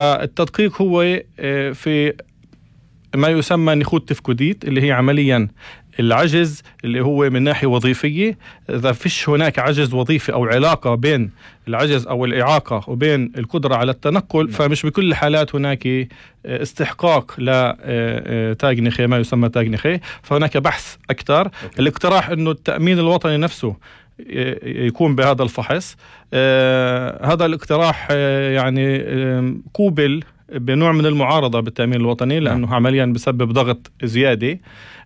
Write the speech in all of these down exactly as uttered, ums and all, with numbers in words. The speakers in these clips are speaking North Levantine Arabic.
التدقيق هو في ما يسمى نخوض تفكديت، اللي هي عمليا العجز اللي هو من ناحية وظيفية. إذا فيش هناك عجز وظيفي أو علاقة بين العجز أو الإعاقة وبين القدرة على التنقل، فمش بكل الحالات هناك استحقاق لتاج نخي، ما يسمى تاج نخي. فهناك بحث أكثر. الاقتراح أنه التأمين الوطني نفسه يكون بهذا الفحص. آه هذا الاقتراح آه يعني آه قوبل بنوع من المعارضة بالتأمين الوطني، لأنه عمليا بسبب ضغط زيادة.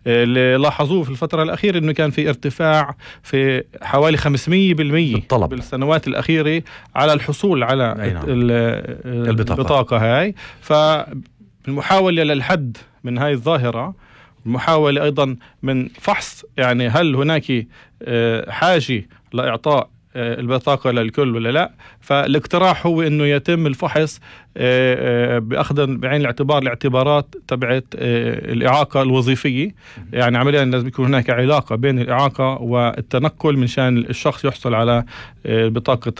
اللي لاحظوه في الفترة الأخيرة أنه كان في ارتفاع في حوالي خمسمية بالمية بالطلب بالسنوات الأخيرة على الحصول على نعم. البطاقة. البطاقة هاي. فالمحاولة للحد من هاي الظاهرة، المحاولة أيضا من فحص يعني هل هناك حاجة لإعطاء البطاقة للكل ولا لا. فالاقتراح هو أنه يتم الفحص بأخذ بعين الاعتبار الاعتبارات تبعت الإعاقة الوظيفية. يعني عمليا لازم يكون هناك علاقة بين الإعاقة والتنقل من شان الشخص يحصل على بطاقة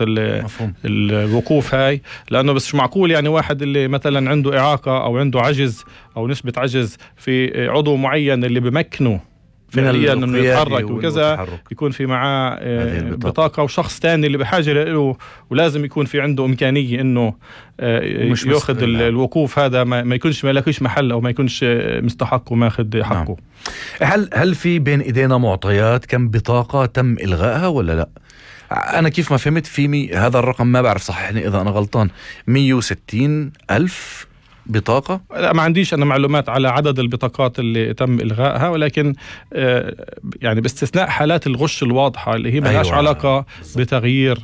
الوقوف هاي. لأنه بس مش معقول يعني واحد اللي مثلا عنده إعاقة أو عنده عجز أو نسبة عجز في عضو معين اللي بمكنه فعليا انه يتحرك وكذا، يكون في معاه بطاقة، وشخص تاني اللي بحاجة له ولازم يكون في عنده إمكانية انه ياخذ الوقوف هذا، ما يكونش ما يلاقيش محل او ما يكونش مستحق وماخذ حقه. نعم. هل هل في بين ايدينا معطيات كم بطاقة تم إلغائها ولا لا؟ أنا كيف ما فهمت في مي هذا الرقم، ما بعرف صححني إذا أنا غلطان، مية وستين ألف بطاقة؟ لا، ما عنديش أنا معلومات على عدد البطاقات اللي تم إلغائها، ولكن يعني باستثناء حالات الغش الواضحة اللي هي ما لهاش أيوة. علاقة بتغيير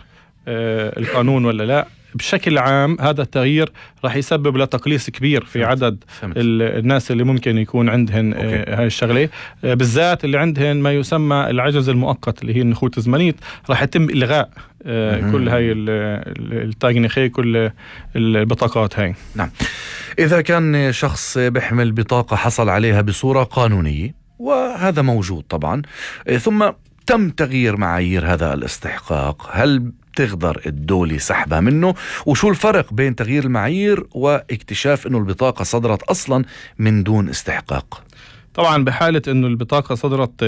القانون ولا لا. بشكل عام هذا التغيير راح يسبب لتقليص كبير في فهمت. عدد فهمت. الناس اللي ممكن يكون عندهن هاي الشغلة، بالذات اللي عندهن ما يسمى العجز المؤقت اللي هي النخوت الزمنية. راح يتم إلغاء مم. كل هاي التاج نخي، كل البطاقات هاي. نعم. إذا كان شخص بيحمل بطاقة حصل عليها بصورة قانونية، وهذا موجود طبعا، ثم تم تغيير معايير هذا الاستحقاق، هل تقدر الدولة سحبها منه؟ وشو الفرق بين تغيير المعايير واكتشاف انه البطاقة صدرت اصلا من دون استحقاق؟ طبعا بحالة انه البطاقة صدرت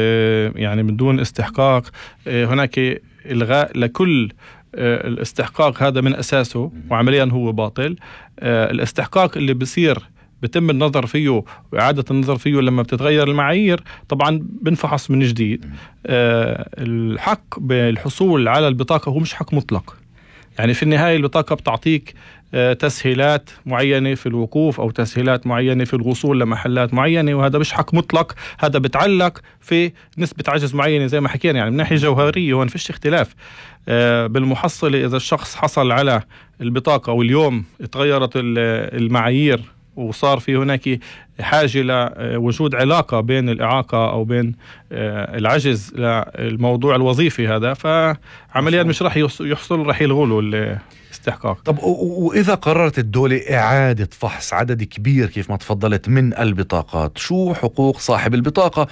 يعني من دون استحقاق، هناك الغاء لكل الاستحقاق هذا من اساسه، وعمليا هو باطل. الاستحقاق اللي بصير بتم النظر فيه وإعادة النظر فيه لما بتتغير المعايير، طبعا بنفحص من جديد. أه الحق بالحصول على البطاقة هو مش حق مطلق. يعني في النهاية البطاقة بتعطيك أه تسهيلات معينة في الوقوف أو تسهيلات معينة في الوصول لمحلات معينة، وهذا مش حق مطلق. هذا بتعلق في نسبة عجز معينة زي ما حكينا. يعني من ناحية جوهرية هون فيش اختلاف. أه بالمحصلة إذا الشخص حصل على البطاقة واليوم اتغيرت المعايير وصار في هناك حاجة لوجود علاقة بين الإعاقة أو بين العجز للموضوع الوظيفي هذا، فعمليا مش رح يحصل، رح يلغوا له الاستحقاق. طب وإذا قررت الدولة إعادة فحص عدد كبير كيف ما تفضلت من البطاقات، شو حقوق صاحب البطاقة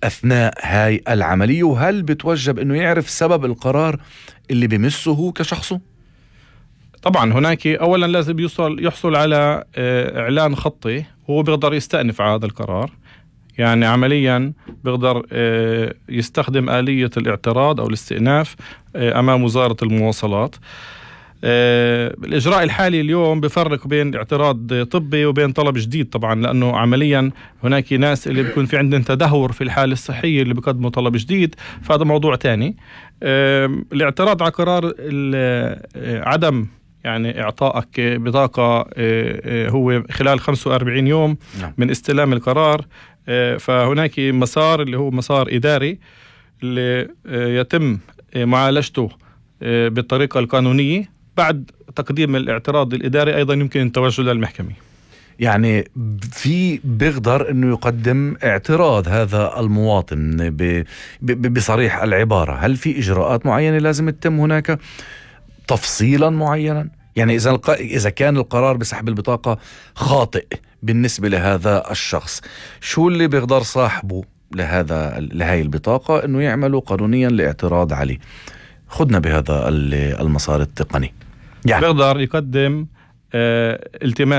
أثناء هاي العملية؟ وهل بتوجب أنه يعرف سبب القرار اللي بمسه كشخصه؟ طبعا هناك أولا لازم يوصل يحصل على إعلان خطي، هو بيقدر يستأنف على هذا القرار. يعني عمليا بيقدر يستخدم آلية الاعتراض أو الاستئناف أمام وزارة المواصلات. الإجراء الحالي اليوم بفرق بين اعتراض طبي وبين طلب جديد، طبعا لأنه عمليا هناك ناس اللي بيكون في عندهم تدهور في الحالة الصحية اللي بيقدموا طلب جديد، فهذا موضوع تاني. الاعتراض على قرار عدم يعني إعطائك بطاقة هو خلال خمسة وأربعين يوم من استلام القرار. فهناك مسار اللي هو مسار إداري اللي يتم معالجته بالطريقة القانونية. بعد تقديم الاعتراض الإداري أيضا يمكن التوجه للمحكمة. يعني في بيقدر أنه يقدم اعتراض هذا المواطن بصريح العبارة. هل في إجراءات معينة لازم تتم هناك تفصيلا معينا؟ يعني إذا الق... إذا كان القرار بسحب البطاقة خاطئ بالنسبة لهذا الشخص، شو اللي بيقدر صاحبه لهذا لهاي البطاقة إنه يعمله قانونيا لاعتراض عليه؟ خدنا بهذا المسار التقني. يعني بيقدر يقدم التماس